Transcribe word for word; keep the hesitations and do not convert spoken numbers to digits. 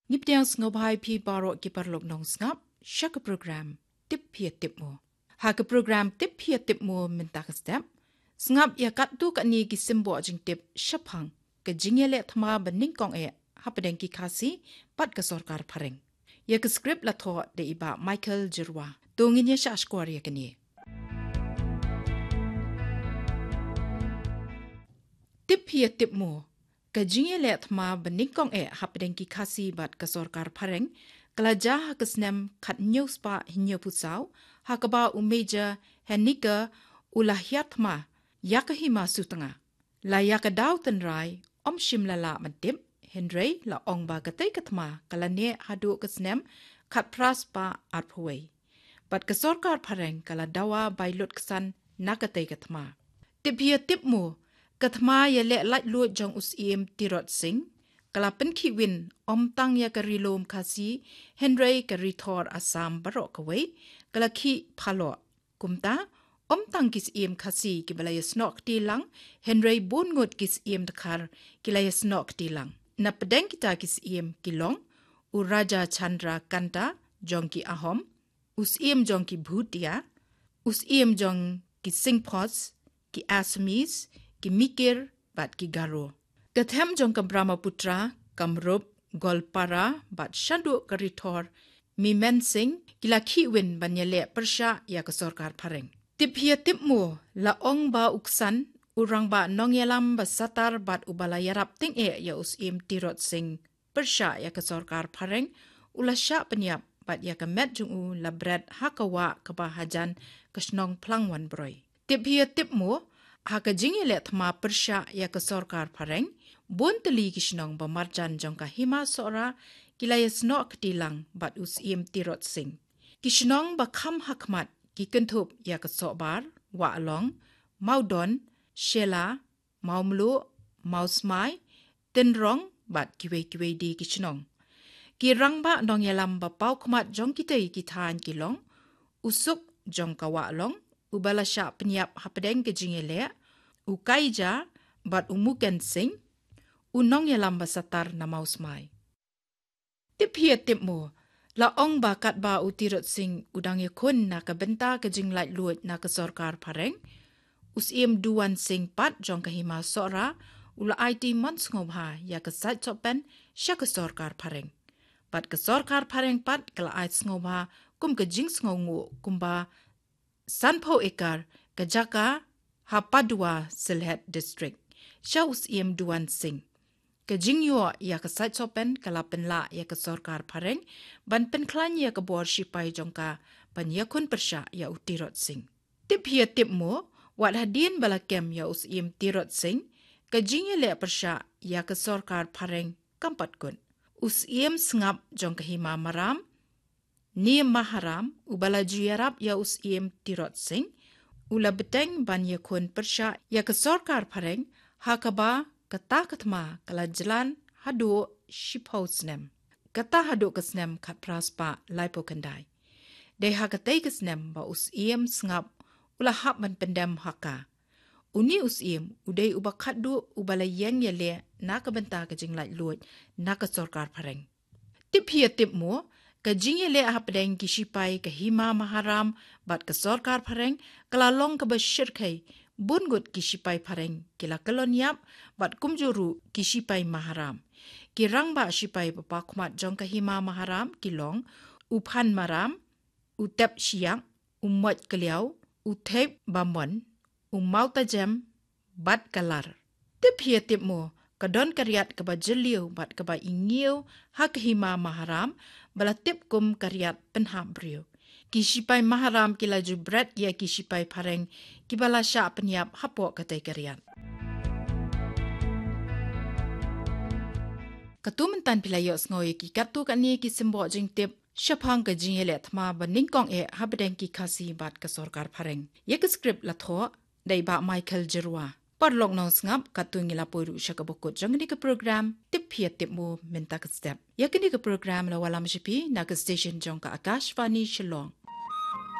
Ngi pdiang sngewbha ïa phi baroh ki paralok nongsngap sha ka program Tip Phi Tip Mo. Ha ka program Tip Phi Tip Mo mynta ka step, sngap ïa katto katne ki symboh jingtip shaphang ka jingïaleh thma banyngkong eh hapdeng ki Khasi bad ka sorkar phareng. Ïa ka script la thoh da i Bah Michael Jyrwa. To ngin ïa shah shkor ïa kane. Tip Phi Tip Mo. Ka jingïaleh thma banyngkong eh hapdeng ki Khasi bad ka sorkar phareng ka la jia ha ka snem khathynñiew spah hynñiewphew saw, ha kaba u Major Henniker u la hiar thma ïa ka hima Sutnga. La ïa ka daw tynrai ym shym la lah ban tip, hynrei la ong ba katei ka thma ka la neh haduh ka snem khatphra spah arphew wei. Bad ka sorkar phareng ka la dawa bai lut ksan na katei ka thma. Tip Phi Tip Mo. Ka thma ïaleh laitluid jong u Syiem Tirot Sing ka la pynkhih win ym tang ïa ka Ri Lum Khasi, hynrei ka Ri Thor Assam baroh kawei ka la khih phaloh. Kumta, ym tang ki Syiem Khasi kiba la ïasnoh kti lang, hynrei bun ngut ki Syiem Dkhar ki la ïasnoh kti lang. Na pdeng kita ki Syiem ki long u Raja Chandra Kanta jong ki Ahom, u Syiem jong ki Bhutia, u Syiem jong ki Singphos, ki Assamese, ki Mikir bad ki Garo. Ka them jong ka Brahmaputra, Kamrup, Goalpara bad shaduh ka Ri Thor Mymensingh ki la khih win ban ïaleh pyrshah ïa ka sorkar phareng. Tip Phi Tip Mo. La ong ba u Ksan, u rangbah nongïalam ba satar bad uba la ïarap tyngeh ïa u Syiem Tirot Sing pyrshah ïa ka sorkar phareng, u la shah pynïap bad ïa ka met jong u la bret ha ka wah kaba hajan ka shnong Phlangwanbroi. Tip Phi Tip Mo. Ha ka jingïaleh thma pyrshah ïa ka sorkar phareng, bun tylli ki shnong ba marjan jong ka Hima Sohra ki la ïasnoh kti lang bad u Syiem Tirot Sing. Ki shnong ba kham hakhmat ki kynthup ïa ka Sohbar, Wahlong, Mawdon, Shella, Mawmluh, Mawsmai, Tynrong bad kiwei kiwei de ki shnong. Ki rangbah nongïalam ba paw khmat jong kitei ki thaiñ ki long u Suk jong ka Wahlong, uba la shah pynïap hapdeng ka jingïaleh, u Kaija bad u Muken Singh, u nongïalam ba satar na Mawsmai. Tip Phi Tip Mo. La ong ba katba u Tirot Sing u dang ïakhun na ka bynta ka jinglaitluid na ka sorkar phareng, u Syiem Duwan Singh pat jong ka Hima Sohra u la aiti mon sngewbha ïa ka sait sohpen sha ka sorkar phareng. Bad ka sorkar phareng pat ka la ai sngewbha kum ka jingsngewnguh kumba sanphew ekar ka jaka ha Paduwa, Sylhet District, sha u Syiem Duwan Singh. Ka jingïoh ïa ka sait sohpen ka la pynlah ïa ka sorkar phareng ban pynkhlaiñ ïa ka bor shipai jong ka ban ïakhun pyrshah ïa u Tirot Singh. Tip Phi Tip Mo. Wat hadien ba la kem ïa u Syiem Tirot Singh, ka jingïaleh pyrshah ïa ka sorkar phareng kam pat kut. U Syiem Sngap jong ka Hima Maram, Niam Maharam, uba la ju ïarap ïa u Syiem Tirot Singh, u la bteng ban ïakhun pyrshah ïa ka sorkar phareng, ha kaba kata ka thma ka la jlan haduh shiphew snem. Kata haduh ka snem khatphra spah laiphew khyndai. Dei ha katei ka snem ba u Syiem Sngap u la hap ban pyndem ha ka. Une u Syiem u dei uba khatduh uba la ïeng ïaleh na ka bynta ka jinglaitluid na ka sorkar phareng. Tip Phi Tip Mo. Ka jingïaleh hapdeng ki shipai ka Hima Maharam bad ka sorkar phareng ka la long kaba shyrkhei, bun ngut ki shipai phareng ki la kyllon ïap bad kumjuh ruh ki shipai Maharam. Ki rangbah shipai ba paw khmat jong ka Hima Maharam ki long u Phan Maram, u Tep Shiak, u Moit Kliaw, u Thep Bamon, u Mawtajem bad ka Lar. Tip Phi Tip Mo. Ka don ka riat kaba jylliew bad kaba ingiew ha ka Hima Maharam, ba la tip kum ka riat pynhap briew. Ki shipai Maharam ki la ju bret ïa ki shipai phareng kiba la shah pynïap hapoh katei ka riat. Katto mynta phi la ïohsngew ïa ki katto katne ki symboh jingtip shaphang ka jingïaleh thma banyngkong eh hapdeng ki Khasi bad ka sorkar phareng. Ïa ka script la thoh da i Bah Michael Jyrwa. Paralok nongsngap, katto ngi la poi ruh sha kaba kut jong kane ka program Tip Phi Tip Mo mynta ka step. Ïa kane ka program la wallam sha phi na ka station jong ka Akashvani Shillong.